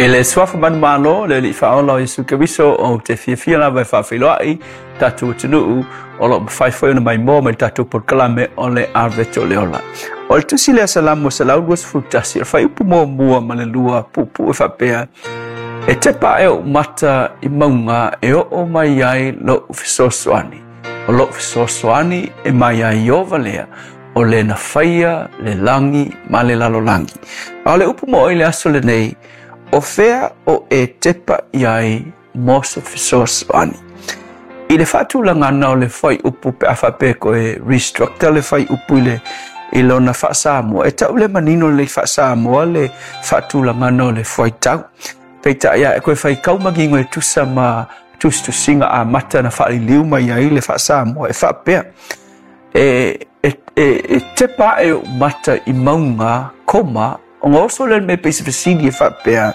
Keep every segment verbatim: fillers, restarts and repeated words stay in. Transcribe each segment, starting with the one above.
E le suafa manumalo le alii faaola o Iesu Keriso ou te fiafia lava e faafeiloai tatou atunuu o loo mafai foi ona maimoa mai le tatou polokalame o le Avete o le Ola. O le tusi lea Salamo selau luasefulu tasi o le fuaiupu muamua ma le lua puupuu e faapea, e tepa ae oʻu mata i mauga e oo mai ai loʻu fesoasoani. O loʻu fesoasoani e mai ai Ieova lea, o le na faia le lagi ma le lalolagi. A o le upu mo oe i le aso lenei, o fea o e tepa i ai mo se fesoasoani. I le faatulagana o le fuaiupu pe a faapea koe restructure le fuaiupu i le i lona faasamoa, e tau le manino lelei faasamoa le faatulagana o le fuaitau. Peitai ae koe faitau manino e tusa ma tusitusiga amata na faaliliu mai ai le faasamoa e faapea, e, e, e, e tepa ae oʻu mata i mauga koma, ona oso lea le mea pei se fesili e faapea,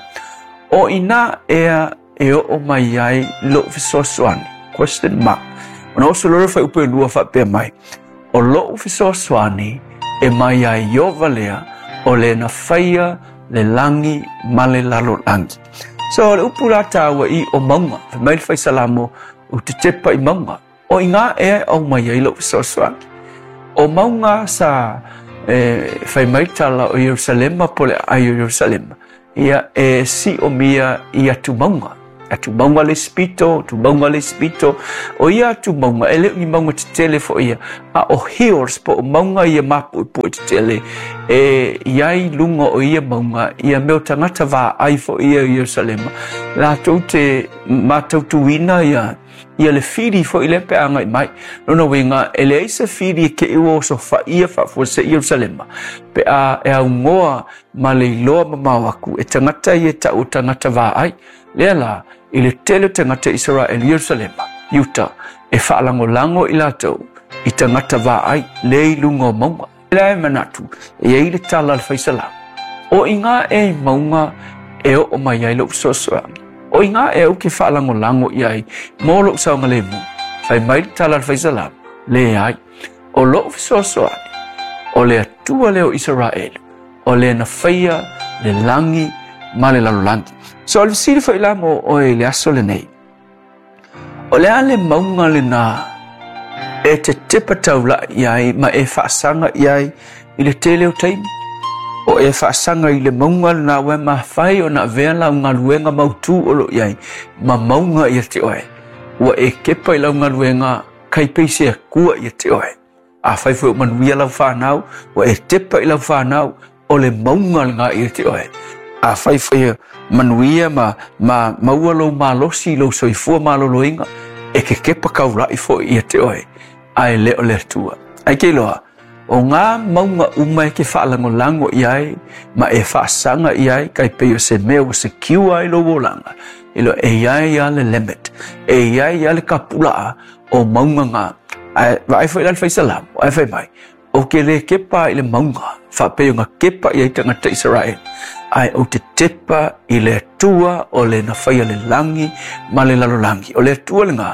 o inā ea e oo mai ai loʻu fesoasoani, question mark. Ona oso loa le fuaiupu e lua faapea mai, o loʻu fesoasoani e mai ai Ieova lea, o le na faia le lagi ma le lalolagi. So o le upu la taua i o mauga, fai mai le faisalamo, ou te tepa i mauga. O inā ea e au mai ai loʻu fesoasoani. O mauga sa e fai mai tala o Ierusalema po o le aai o Ierusalema, ia e siomia i atumauga. Atumauga le isi pito, atumauga le isi pito. O ia atumauga, e le o ni mauga tetele foi ia, a o hills po o mauga ia mapuepue tetele, e i ai luga o ia mauga, ia mea o tagata vaai foi ia i Ierusalema, latou te matautuina ia ia le fili foi lea pe a agai mai. Lona uiga, e leai se fili e te i ua osofaia faafuasei Ierusalema, pe a e augoa ma le iloa mamao aku e tagata ia e tau o tagata vaai. Lea la, i le tele o tagata Isaraelu i Ierusalema, Iuta, e faalagolago i latou i tagata vaai lea i luga o mauga. Lea e manatu, e i ai le tala a le faisalamo, o inā ea i mauga e oo mai ai lou fesoasoani. O inā ea ou ke faalagolago i ai mo lou saogalemu. Fai mai le tala a le faisalamo, leai, o lou fesoasoani, o le Atua lea o Isaraelu, o le na faia le lagi ma le lalolagi. So o le fesili foi la mo oe i le aso lenei, o le a le mauga lenā e te tepa taula'i i ai ma e faasaga i ai i le tele o taimi? O e faasaga i le mauga lenā ua e mafai ona avea lau galuega mautū o lo o i ai ma mauga ia te oe. Ua e kepa i lau galuega kai pei se Atua ia te oe. Afai foi o manuia lau fanau, ua e tepa i lau fanau, o le mauga lenā ia te oe. Afai foi manuia ma, ma maua lou malosi i lou soifua maloloina, e ke kepa kaula'i foi ia te oe, ae le o le Atua. Ae ke iloa, o ngā mauga uma e ke faalagolago i ai ma e faasaga i ai, kai pei o se mea ua secure ai lou olaga, iloa e i ai lava le limit, e i ai lava le kapula'a o mauga ngā. Ae vaai foi la le faisalamo, ae fai mai, ou te le kepa i le mauga, faapei ona kepa i ai tagata Isaraelu, ae ou te tepa i le Atua o le na faia le lagi ma le lalolagi. O le Atua lenā,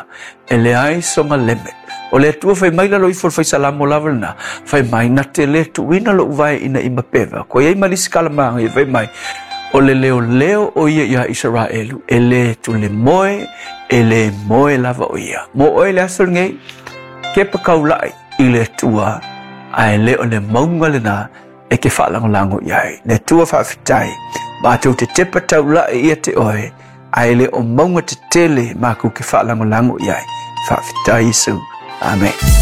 e leai sona limit. O le Atua fai mai lalo ifo o le faisalamo lava lenā, fai mai, na te le tuuina lou vae ina i mapeva. Koe i ai ma le isi kalamaga ia fai mai, o le leoleo o ia iā Isaraelu, e le tulemoe, e le moe lava o ia. Mo oe le aso lenei, kepa kaula'i i le Atua, ae le o le mauga lenā e ke faalagolago i ai. Le Atua faafetai, matou te tepa taula'i ia te oe, ae le o mauga tetele makou ke faalagolago i ai. Faafetai Iesu. Amen.